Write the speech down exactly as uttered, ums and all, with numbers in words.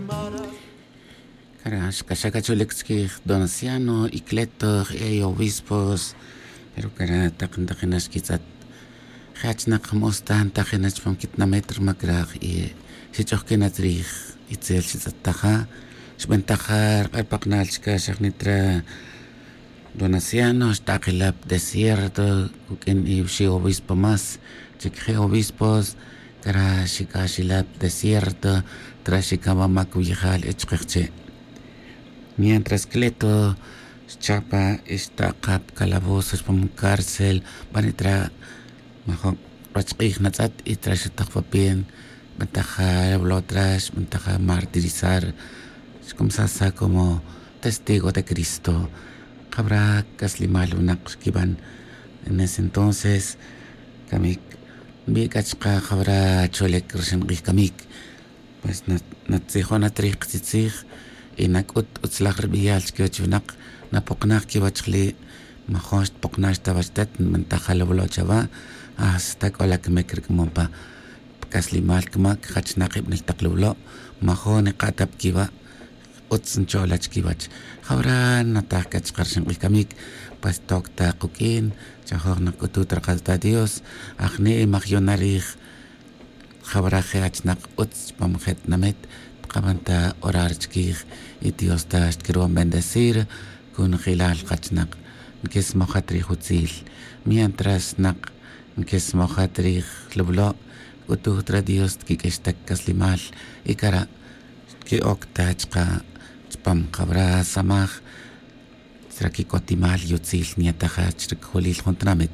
Cara' xk'axa' cacholic chiquij donaciano y cleto je' obispos. Pero cara' tak ntakinach quitz'at je' achnak mos ta ntajinach pam quitinamit ruma cara' y xich'ojquinat rij itzel xitz'attaja. Xbentaja rk'ar paknal chica xajnitra donaciano xtak'ila' pa desierto cuq'uin iwxi' obispo más. Chic je' obispos cara' xic'axila' pa desierto. Tra xicaba mac wiyejal e chkejche'. Mientras cleto xchapa' y xtaka' pa calabozo xpam cárcel. Bani tra majo' rach k'ij natz'at y tra xutak pa pien. Xbentaja' revlotrax xbentaja' martirizar. Xcomsasa' como testigo de cristo. Jawra' caslimal winak xquiban en ese entonces. Camic nbi' c'a chka' jawra' cholic rixin k'ij camic. Pues natzijon at rij katzitzij y nac'ut utzlaj ribeyal chiquiwech winak. Napoknaj quiwech jali'. Majon xtpoknax ta wachtet nbentaja' lawlo' chawa'. Hasta c'o la camic ric'amon pa pa caslimal camac jachnak ibanel tak lawlo'. Majon nika' ta pa quiwa'. Utz ncho'la chiquiwech. Jawra' nataj c'a chka' rixin k'ij camic. Pues toc ta kuq'uin chajoj nac'utut rakal ta dios. Ajni' majyona' rij. Jawra' je' achnak utz chpam je' tinamit tkaban ta orar chiquij. Y dios ta xtquirban bendecir. Conjelal kachnak nquesmojat rij utzil. Mientras nak nquesmojat rij lawlo'. C'utuj ta re dios tquiq'uix ta caslimal y cara' xtqui'oc ta chka' chpam jawra' samaj. Tra quic'otimal y utzil nyetaja' chra cojolil jun tinamit.